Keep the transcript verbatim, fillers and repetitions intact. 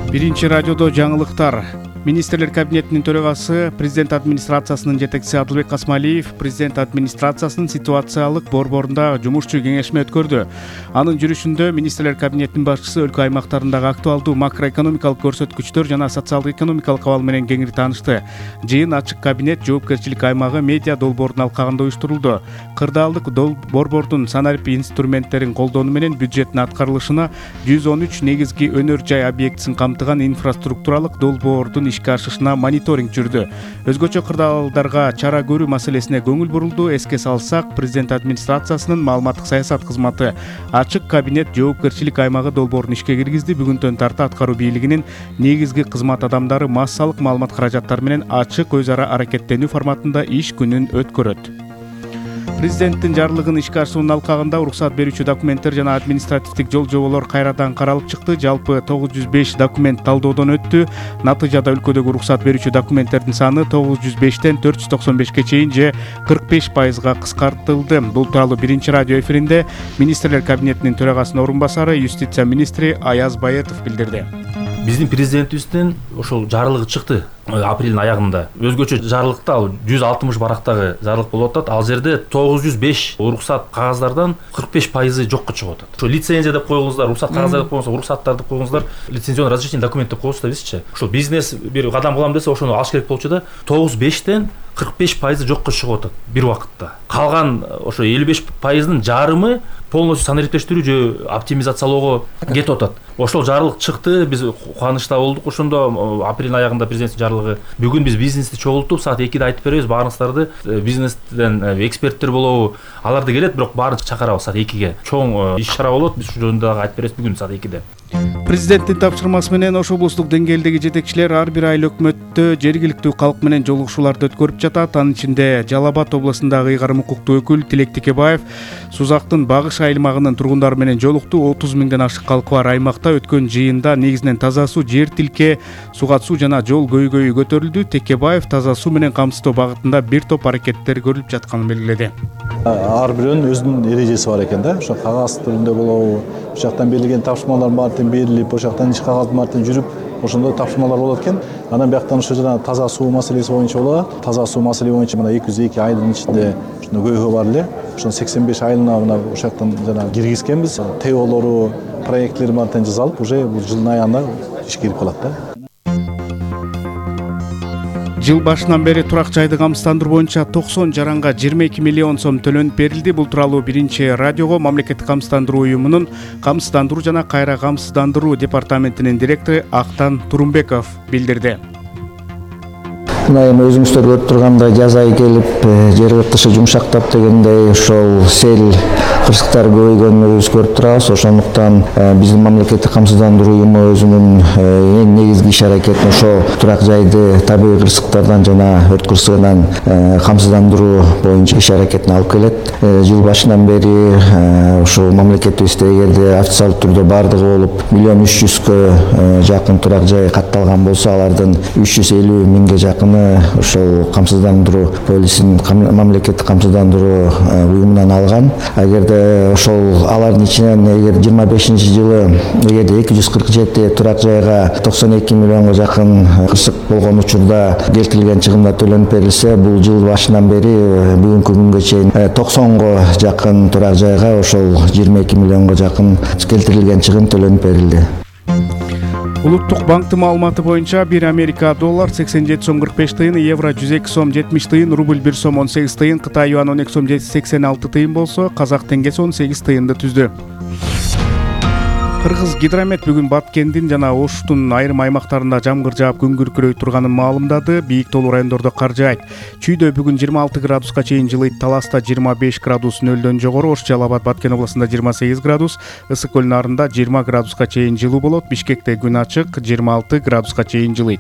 Биринчи радиодо жаңылыктар. Министрлер кабинетинин төрагасы, президент администрациясынын жетекчиси Адылбек Касмалиев президент администрациясынын ситуациялык борборунда жумушчу кеңешме өткөрдү. Анын жүрүшүндө министрлер кабинетинин башчысы өлкө аймактарындагы актуалдуу макроэкономикалык көрсөткүчтөр жана социалдык экономикалык абал менен кеңири таанышты. Жыйын ачык кабинет жоопкерчилик аймагы медиа долбоордун алкагында уюштурулду. Кырдаалдык борбордун санарип инструменттерин колдонуу менен бюджеттин аткарылышына жүз он үч негизги өнөр жай объектисин камтыган инфраструктуралык долбоордун ишке ашышына мониторинг жүрдү. Өзгөчө кырдаалдарга чара көрүү маселесине көңүл бурулду. Эске салсак, президент администрациясынын маалыматтык саясат кызматы ачык кабинет жоопкерчилик аймагы долбоорун ишке киргизди. Бүгүндөн тарта аткаруу бийлигинин негизги кызмат адамдары массалык маалымат каражаттары менен ачык өз ара аракеттенүү форматында иш күнүн өткөрөт. Президенттин жарлыгын ишке ашуунун алкагында уруксат берүүчү документтер жана административдик жол жоболор кайрадан каралып чыкты. Жалпы тогуз жүз беш документ талдоодон өттү. Натыйжада өлкөдөгү уруксат берүүчү документтердин саны тогуз жүз бештен төрт жүз токсон бешке чейин же кырк беш пайызга кыскартылды. Бул тууралуу биринчи радио эфиринде министрлер кабинетинин төрагасынын орун басары, юстиция министри Аяз Баетов билдирди. Биздин президентибиздин ошол жарлыгы чыкты апрелдин аягында. Өзгөчө жарлыкта ал жүз алтымыш барактагы жарлык болуп атат. Ал жерде тогуз жүз беш уруксат кагаздардан кырк беш пайызы жокко чыгып атат. Ошо лицензия деп койгуңуздар, уруксат кагаздар деп койгуңуздар, уруксаттар деп койгуңуздар, лицензионный разрешение документ деп коебуз да бизчи. Ошол бизнес бир кадам кылам десе, ошону алыш керек болчу да, тогуз бештен кырк беш пайызы жокко чыгып атат бир убакытта. Калган ошо элүү беш пайыздын жарымы полностью санариптештирүү же оптимизациялоого кетип атат. Ошол жарлык чыкты, биз кубанычта болдук. Ошондо апрелдин аягында президенттин жарлыгы. Бүгүн биз бизнести чогултуп, саат экиде айтып беребиз, баарыңыздарды бизнестен эксперттер болобу, аларды келет, бирок баарын чакырабыз саат экиге. Чоң иш чара болот, биз ушул жөнүндө дагы айтып беребиз бүгүн саат экиде. Президенттин тапшырмасы менен ош облустук деңгээлдеги жетекчилер ар бир айыл өкмөттө жергиликтүү калк менен жолугушууларды өткөрүп жатат. Анын ичинде Жалал Абад облусундагы ыйгарым укуктуу өкүл Тилек Текебаев Сузактын Багыш аймагынын тургундары менен жолукту. отуз миңден ашык калкы бар аймакта өткөн жыйында негизинен таза суу, жер тилке, суга суу жана жол көйгөйү көтөрүлдү. Текебаев таза суу менен камсыздоо багытында бир топ аракеттер көрүлүп жатканын белгиледи. Ар бирөөнүн өзүнүн эрежеси бар экен да. Ошо кагаз түрүндө болобу, бул жактан берилген тапшырмалар баардыгы берилип, ошол жактан иш кагаз баардыгы жүрүп, ошондой тапшырмалар болот экен. Анан бияктан ошо жана таза суу маселеси боюнча болот. Таза суу маселеси боюнча мына эки жүз эки айылдын ичинде ушуну көйгөй бар эле. Ошон сексен беш айылына мына ошол жактан жана киргизкенбиз. ТОлору, проекттери баардыгын жасалып, уже бул жылдын аягында ишке кирип калат да. Жыл башынан бери турак жайды камсыздандыруу боюнча токсон жаранга жыйырма эки миллион сом төлөнүп берилди. Бул тууралуу биринчи радиого мамлекеттик камсыздандыруу уюмунун камсыздандыруу жана кайра камсыздандыруу департаментинин директору Актан Турумбеков билдирди. Мына эми өзүңүздөр көрүп тургандай жаз айы келип, жер кыртышы жумшактап дегендей ошол сел кырсыктар көбөйгөнүн өзү көрүп турабыз. Ошондуктан биздин мамлекеттик камсыздандыруу уюму өзүнүн эң негизги иш аракетин ошо турак жайды табигый кырсыктардан жана өрт кырсыгынан камсыздандыруу боюнча иш аракетин алып келет. Жыл башынан бери ошол мамлекетибизде эгерде официалдуу түрдө баардыгы болуп миллион үч жүзгө жакын турак жай катталган болсо, алардын үч жүз элүү миңге жакыны ошол камсыздандыруу полисин мамлекеттик камсыздандыруу уюмунан алган. Эгерде ошол алардын ичинен эгер жыйырма бешинчи жылы эгерде эки жүз кырк жети турак жайга токсон эки миллионго жакын кырсык болгон учурда келтирилген чыгымдар төлөнүп берилсе, бул жыл башынан бери бүгүнкү күнгө чейин токсонго жакын турак жайга ошол жыйырма эки миллионго жакын келтирилген чыгым төлөнүп берилди. Улуттук банктын маалыматы боюнча бир Америка доллар сексен жети сом кырк беш тыйын, евро жүз эки сом жетимиш тыйын, рубль бир сом он сегиз тыйын, Кытай юан он эки сом сексен алты тыйын болсо, казак теңгеси он сегиз тыйынды түздү. Кыргыз гидромет бүгүн Баткендин жана Оштун айрым аймактарында жамгыр жаап күн күркүрөй турганын маалымдады. Бийик тоолуу райондордо кар жаайт. Чүйдө бүгүн жыйырма алты градуска чейин жылыйт. Таласта жыйырма беш градус нөлдөн жогору, Ош, Жалал Абад, Баткен областында жыйырма сегиз градус, Ысык көл нарында жыйырма градуска чейин жылуу болот. Бишкекте күн ачык, жыйырма алты градуска чейин жылыйт.